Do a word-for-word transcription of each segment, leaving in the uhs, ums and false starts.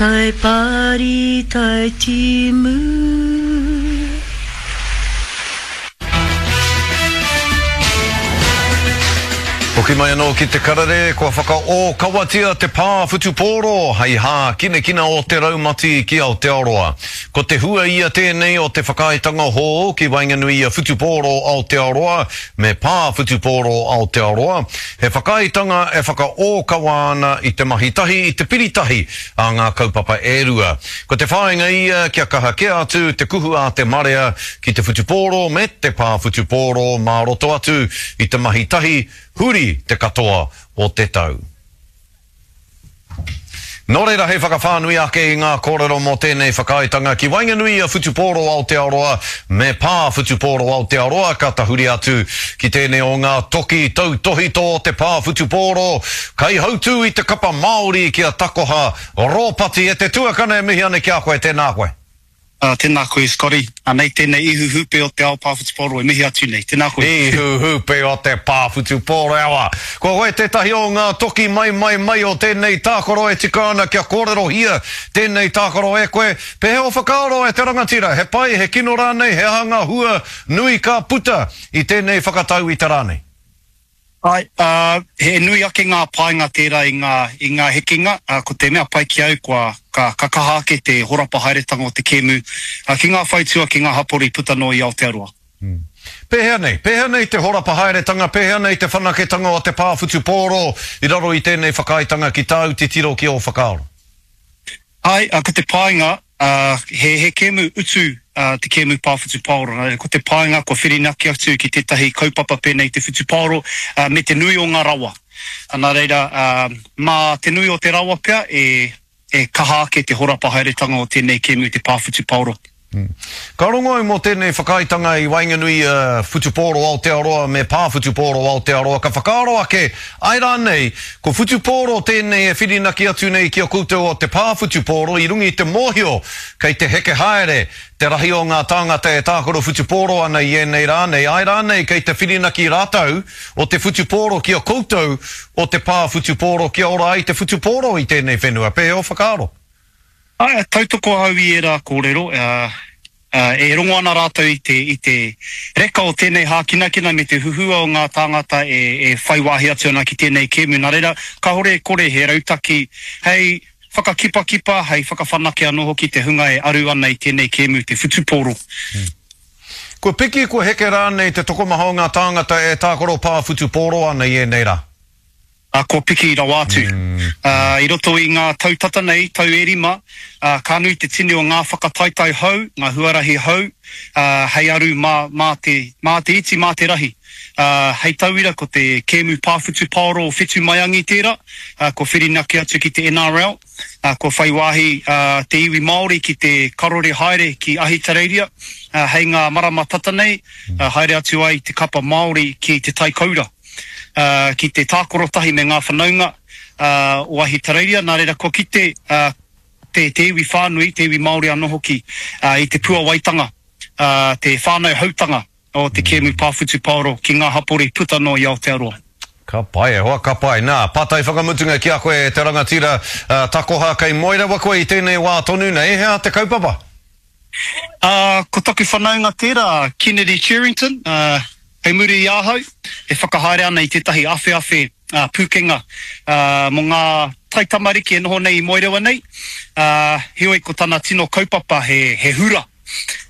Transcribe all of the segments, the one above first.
Tai pari, tai timu. Hoki mai anō ki te karere, kua whakaōkawatia te pā whutupōro hei hākinakina o te raumati ki Aotearoa. Ko te hua ia tēnei o te whakaaetanga hou ki waenganui i a Whutupōro Aotearoa me Pā Whutupōro Aotearoa, he whakaaetanga e whakaōkawa ana i te mahi tahi, i te piri tahi a ngā kaupapa e rua. Ko te whāinga ia kia kaha kē atu te kuhu a te marea ki te whutupōro me te pā whutupōro mā roto atu i te mahi tahi huri te katoa o te tau. Nō reira hei whakawhānui ake i ngā kōrero mō tēnei whakaaetanga ki waenganui i a Whutupōro Aotearoa me Pā Whutupōro Aotearoa ka tahuri atu ki tēnei o ngā toki tautōhito o te pā whutupōro, kaihautū i te kapa Māori ki a Takoha Ropati e te tuakana e mihi ana ki a koe, tēnā koe. Ā, tēnā koe Scotty. Anei tēnei ihu hūpē o te ao pā whutupōro e mihi atu nei. Tēnā koe. Ihu hūpē o te pā whutupōro e awa. Ko koe tētahi o ngā toki mai mai mai o tēnei tākaro e tika ana kia kōrerohia tēnei tākaro e koe. Pēhea ō whakaaro e te rangatira? He pai, he kino rānei, he aha ngā hua nui ka puta i tēnei whakatau i te rā nei? Āe, ā, he nui ake ngā painga tērā i ngā, i ngā hekenga, ā, ko te mea pai ki au kua, ka, ka kaha ake te horapa haeretanga o te kēmu, ā, ki ngā whaitua, ki ngā hapori puta noa i Aotearoa. Pēhea nei? Pēhea nei te horapa haeretanga, pēhea nei te whanaketanga o te pā whutupōro i raro i tēnei whakaaetanga ki tāu titiro ki ō whakaaro? Āe, ā, ko te painga, ā, he, he kēmu utu, ā, te kēmu pā whutupaoro. Nā reira, ko te painga kua whirinaki atu ki tētahi kaupapa pēnei i te whutupaoro, ā, me te nui o ngā rawa. Ā, nā reira, ā, mā te nui o te rawa pea e, e kaha ake te horapa haeretanga o tēnei kēmu te pā whutupaoro. Ka rongo au mō tēnei whakaaetanga i waenganui i a Whutupōro Aotearoa me Pā Whutupōro Aotearoa, ka whakaaro ake, āe rānei, ko Whutupōro tēnei e whirinaki atu nei ki a koutou o te Pā Whutupōro i runga i te mōhio kei te heke haere te rahi o ngā tāngata e tākaro whutupōro ana i ēnei rā nei, āe rānei kei te whirinaki rātou o te whutupōro ki a koutou o te Pā Whutupōro kia ora ai te whutupōro i tēnei whenua. Pēhea ō whakaaro? Āe, tautoko ahau i ērā kōrero, e rongo ana rātou i te, i te reka o tēnei hākinakina me te huhua o ngā tāngata e, e whai wāhi atu ana ki tēnei kēmu. Nā reira, kāore e kore he rautaki hei whakakipakipa, hei whakawhanake anō hoki te hunga e aru ana i tēnei kēmu, te whutupōro. Kua piki, kua heke rānei te tokomaha o ngā tāngata e tākaro pā whutupōro ana i ēnei rā? Ā, kua piki rawa atu. Ā, i roto i ngā tau tata nei, tau e rima, ā, ka nui te tini o ngā whakataetae hou, ngā huarahi hou, ā, hei aru mā, mā te, mā te iti, mā te rahi. Ā, hei tauira, ko te kēmu pā whutupaoro o Whetu Maiangi tērā, ā, kua whirinaki atu ki te N R L, ā, kua whai wāhi, ā, te iwi Māori ki te karore haere ki Ahitereiria, ā, hei ngā marama tata nei, ā, haere atu ai te kapa Māori ki Te Tai Koura. Ki te tākaro tahi me ngā whanaunga o Ahitereiria, nā reira kua kite te iwi whānui, te iwi Māori anō hoki, i te puawaitanga, te whānau hautanga o te kēmu pā whutupaoro ki ngā hapori puta noa i Aotearoa. Ka pai e hoa, ka pai. Nā, pātai whakamutunga ki a koe e te rangatira takoha, kei moe rawa koe i tēnei wā tonu nei, he aha te kaupapa? Ā, ko taku whanaunga tērā, a Kennedy Cherrington, ā, kei muri i ahau, e whakahaere ana i tētahi awheawhe pūkenga mō ngā taitamariki e noho nei i Moerewa nei, ā, heoi ko tana tino kaupapa he, he hura,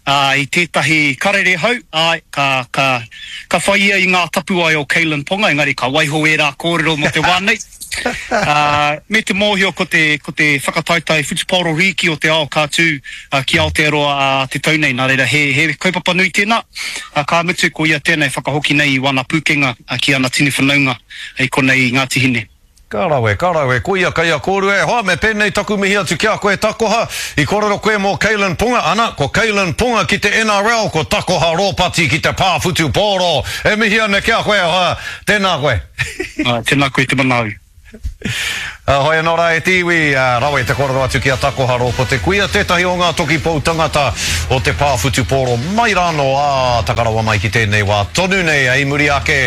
ā, i tētahi karere hou, āe, ka, ka, ka whai ia i ngā tapuwae o Kalyn Ponga, engari ka waiho ērā kōrero mō te wā nei. Ā, me te mōhio ko te, ko te whakataetae whutupaoro rīki o te ao ka tū ki Aotearoa ā te tau nei, nā reira he, he kaupapa nui tēnā, ā, ka mutu ko ia tēnei whakahoki nei i wana pūkenga ki ana tini whanaunga i konei i Ngāti Hine. Ka rawe, ka rawe, koia kei a kōrua e hoa, me pēnei taku mihi atu ki a koe Takoha, i kōrero koe mō Kalyn Ponga, ana, ko Kalyn Ponga ki te N R L, ko Takoha Ropati ki te pā whutupōro, e mihi ana ki a koe e hoa, tēnā koe. Āe, tēnā koe te manaau. Hoi anō rā e te iwi, rawe te kōrero atu ki a Takoha Rōpote Kuia, tētahi o ngā toki pou tangata o te pā whutupōro mai rānō, ā, taka rawa mai ki tēnei wā tonu nei, i muri ake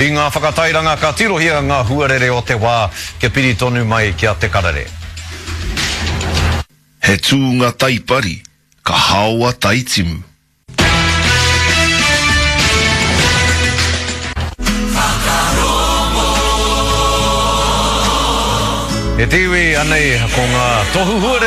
i ngā whakatairanga ka tirohia ngā huarere o te wā kia piri tonu mai ki a Te Karere. He tūnga taipari, ka haoa taitimu. E te iwi, anei ko ngā tohu huarere.